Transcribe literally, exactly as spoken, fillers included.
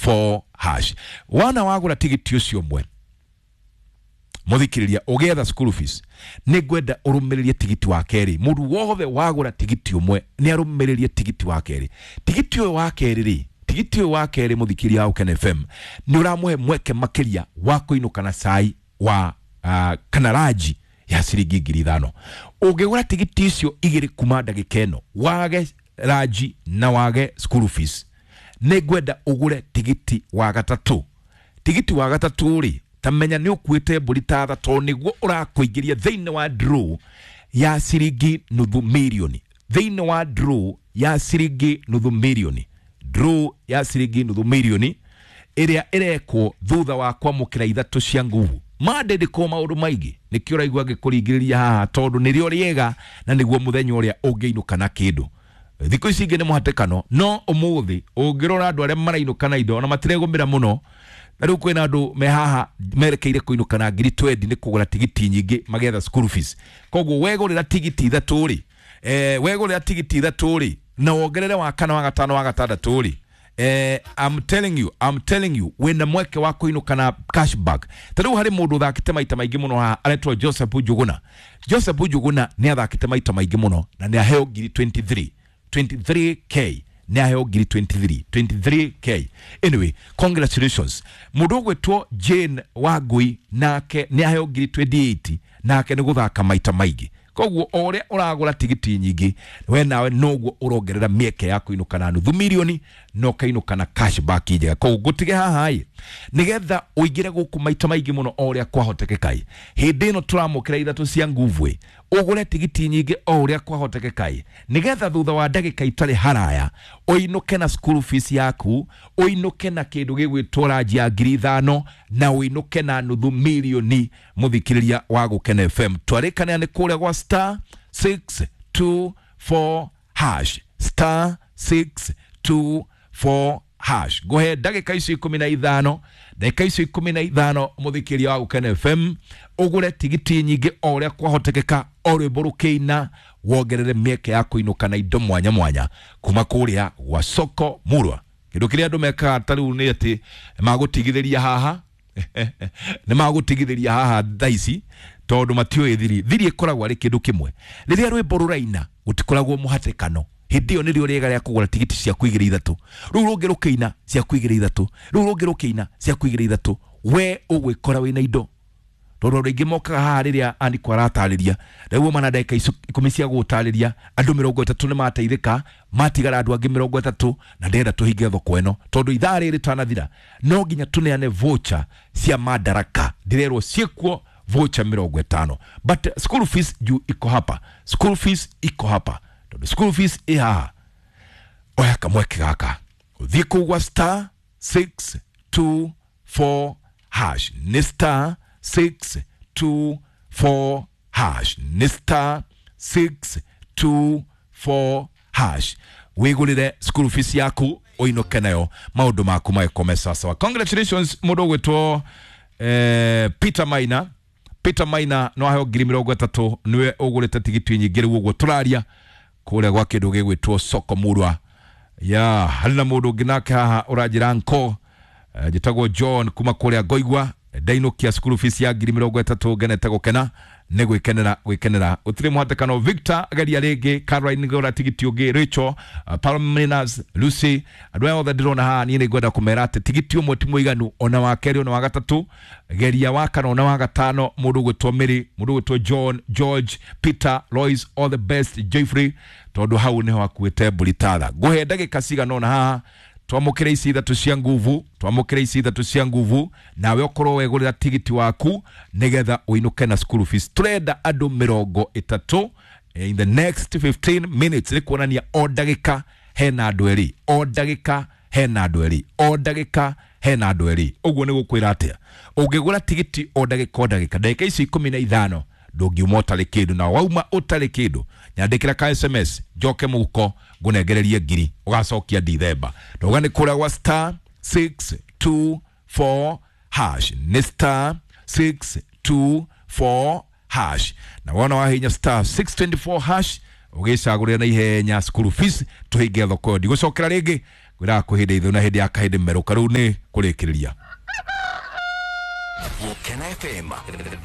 four hash. Wana wagũra tigiti ũcio ũmwe, muthikiriria, ugietha school fees, nĩ ngwenda ũrũmĩrĩrie tigiti wa kerĩ. Mũndũ wothe wagũra tigiti ũmwe nĩ arũmĩrĩrie tigiti wa kerĩ. Tigiti ũyũ wa kerĩ rĩ, tigiti ũyũ wa kerĩ, mũthikĩria wa Gũkena F M, nĩ ũramũhe mweke makĩria wa kũinũka na cai wa uh, kana ranji ya ciringi ngiri ithano. Ũngĩgũra tigiti icio igĩrĩ kuma ndagĩka ĩno, wage ranji na wage school fees, nĩ ngwenda ũgũre tigiti wa gatatũ. Tigiti wa gatatũ rĩ, ta menya nĩ ũkuĩte mbũri ta tha, tondũ nĩguo ũrakũingĩria thĩinĩ wa draw ya ciringi nuthu mirioni, thĩinĩ wa draw ya ciringi nuthu mirioni, draw ya ciringi nuthu mirioni ĩrĩa ĩrekwo thutha wa kwamũkĩra ithatũ cia nguvu. Mandĩndĩkwo maũndũ maingĩ, nĩkĩo ũraigua ngĩkũringĩrĩria haha, tondũ nĩrĩo rĩega na nĩguo mũthenya ũrĩa ũngĩinũka na kĩndũ. Thikũ ici ingĩ nĩ mũhatĩkano, no ũmũthĩ ũngĩrora andũ arĩa marainũka na indo ona matiregũmĩra mũno. Na rĩu kwĩna andũ me haha merekeire kũinũka na ngiri mĩrongo ĩrĩ nĩ kũgũra tigiti nyingĩ magetha school fees. Koguo wegũrĩra tigiti ithatũ rĩ, eh, wegũrĩra tigiti ithatũ rĩ, na wongerere wa kana, wa gatano, wa gatandatũ rĩ, eh, I'm telling you, I'm telling you, wĩna mweke wa kũinũka na cashback. Ta rĩu harĩ mũndũ ũthakĩte maita maingĩ mũno haha aretwo Joseph Njuguna. Joseph Njuguna nĩ athakĩte maita maingĩ mũno na nĩ aheo ngiri mĩrongo ĩrĩ na ithatũ, mĩrongo ĩrĩ na ithatũ k, nĩ aheo ngiri mĩrongo ĩrĩ na ithatũ, mĩrongo ĩrĩ na ithatũ k. Anyway, congratulations. Mũndũ ũgwĩtwo Jane Wangui nake nĩ aheo ngiri mĩrongo ĩrĩ na nyanya, nake nĩ gũthaka maita maingĩ. Koguo o ũrĩa ũragũra tigiti nyingĩ, we nawe noguo ũrongerera mĩeke ya kũinũka na nuthu mirioni na ũkainũka na cashback njega. Koguo ngũtige haha ĩ, nĩgetha ũingĩre gũkũ maita maingĩ mũno o ũrĩa kwahotekeka ĩ. Hĩndĩ ĩno tũramũkĩra ithatũ cia nguvu ĩ, ũgũre tigiti nyingĩ o ũrĩa kwahotekeka ĩ, nĩgetha thutha wa ndagĩka itarĩ haraya ũinũke na school fees yaku, ũinũke na kĩndũ gĩgwĩtwo ranji ya ngiri ithano na ũinũke na nuthu mirioni. Mũthikĩrĩria wa Gũkena F M, twarĩkanĩra nĩ kũrĩa gwa star six two four hash, star six two four hash. Ngũhe ndagĩka icio ikũmi na ithano, ndagĩka icio ikũmi na ithano, mũthikĩrĩria wa Gũkena F M, ũgũre tigiti nyingĩ o ũrĩa kwahotekeka, o rwĩmbo rũkĩina wongerere mĩeke ya kũinũka na indo mwanya mwanya kuma kũrĩa gwa soko murwa. Kĩndũ kĩrĩa andũ mekaga ta rĩu nĩ atĩ magũtigithĩria haha, nĩ magũtigithĩria haha thaa ici, tondũ matiũĩ thiri. Thiri ĩkoragwo arĩ kĩndũ kĩmwe: rĩrĩa rwĩmbo rũraina gũtikoragwo mũhatĩkano. Hĩndĩ ĩyo nĩrĩo rĩega rĩa kũgũra tigiti ciaku igĩrĩ ithatũ, rĩu rũngĩ rũkĩina ciaku igĩrĩ ithatũ, rĩu rũngĩ rũkĩina ciaku igĩrĩ ithatũ, we ũgwĩkora wĩna indo, tondũ andũ aingĩ mokaga haha rĩrĩa andiko aratarĩria. Rĩu mana ndagĩka icio ikũmi cia gũtarĩria, andũ mĩrongo ĩtatũ nĩ mateithĩka, matigara andũ angĩ mĩrongo ĩtatũ, na ndĩrenda tũhinge thoko ĩno, tondũ ithaa rĩrĩ tanathira no nginya tũneane voucher cia Madaraka. Ndĩrerwo ciĩkuo voucher mĩrongo ĩtano, but school fees juu iko hapa, school fees iko hapa. Tondũ school fees ĩ haha, oya kamweke gaka ũthiĩ kũu gwa star six two four hash. Nĩ star six two four hash, nĩ star six two four hash, wĩgũrĩre school fees yaku ũinũke nayo, maũndũ maku magĩkome sawasawa. Congratulations mũndũ ũgwĩtwo eh, Peter Maina. Peter Maina no aheo ngiri mĩrongo ĩtatũ, nĩwe ũgũrĩte tigiti nyingĩ rĩu ũguo tũraria kũrĩa gwa kĩndũ gĩgwĩtwo soko murwa. Ya harĩ na mũndũ ũngĩ nake haha ũranjĩra nko, eh, njĩtagwo John kuma kũrĩa Ngoigua, ndainũkia school fees ya ngiri mĩrongo ĩtatũ, ngenete gũkena nĩ gwĩkenera gwĩkenera, gũtirĩ mũhatĩkano. Victor, geria rĩngĩ. Caroline, gũra tigiti ũngĩ. Rachel, uh, Palminas, Lucy, andũ aya othe ndĩrona haha, niĩ nĩ ngwenda kũmera atĩ tigiti ũmwe ti mũiganu, ona wa kerĩ, ona wa gatatũ, geria wa kana, ona wa gatano. Mũndũ ũgwĩtwo Mary, mũndũ ũgwĩtwo John, George, Peter, Lois, all the best. Jeffrey, tondũ hau nĩho akuĩte mbũri tatha. Ngũhe ndagĩka cigana ũna haha twamũkĩre ici ithatũ cia nguvu, twamũkĩre ici ithatũ cia nguvu, nawe ũkorwo wegũrĩra tigiti waku nĩgetha ũinũke na school fees. Tũrenda andũ mĩrongo ĩtatũ in the next fifteen minutes, nĩ kuonania o ndagĩka hena andũ erĩ, o ndagĩka hena andũ erĩ, o ndagĩka hena andũ erĩ. Ũguo nĩ gũkwĩra atĩa? Ũngĩgũra tigiti o ndagĩka o ndagĩka, ndagĩka ici ikũmi na ithano, ndũngiuma ũtarĩ kĩndũ. Na wauma ũtarĩ kĩndũ, nyandĩkĩra ka S M S njoke mũhuko ngũnengererie ngiri ũgacokia Dithemba. Ndauga nĩ kũrĩa gwa star six two four hash, nĩ star six two four hash, na wona wahinya star six two four hash ũgĩcagũrĩra na ihenya school fees, tũhinge thoko ĩyo. Ndigũcokera rĩngĩ. Ngwĩraga kwĩ hĩndĩ ithu na hĩndĩ ya kahĩndĩ merũka. Rĩu nĩ kũrĩkĩrĩria. Gukena F M.